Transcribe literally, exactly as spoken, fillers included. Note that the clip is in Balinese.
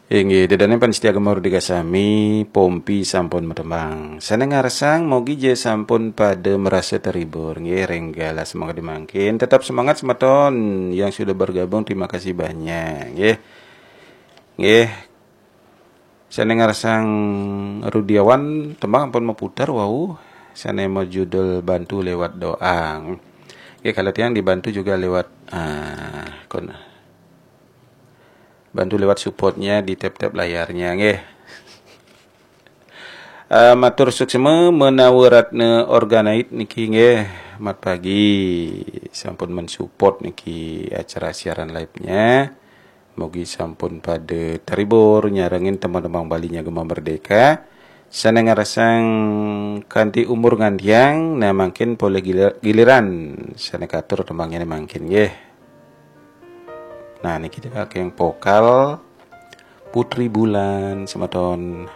Inggih, ida dané pamiarsa Gema Merdeka sami, Pompi sampun matembang. Sané ngarsang, mogi ja sampun pada merasa terhibur. Nggih, ring galah semangat mangkin. Tetap semangat semeton yang sudah bergabung, terima kasih banyak. Nggih. Nggih. Sané ngarsang Rudiawan, tembang ampun maputar wau. Sané majudul Bantu Lewat Doa. Nggih, kalau tiang dibantu juga lewat, ah, kon- bantu lewat supportnya di tap-tap layarnya, nggih. Eh, matur suksma menawi Ratna Organite niki, nggih, mat pagi sampun mensupport niki acara siaran live-nya. Mugi sampun pada terhibur nyarengin teman-teman Bali nya Gema Merdeka. Sané ngarsang kanti umur ngantiang, nah mangkin polih gilir- giliran sané katur tembangnya mangkin, nggih. Nah, niki yang vokal Putri Bulan semeton.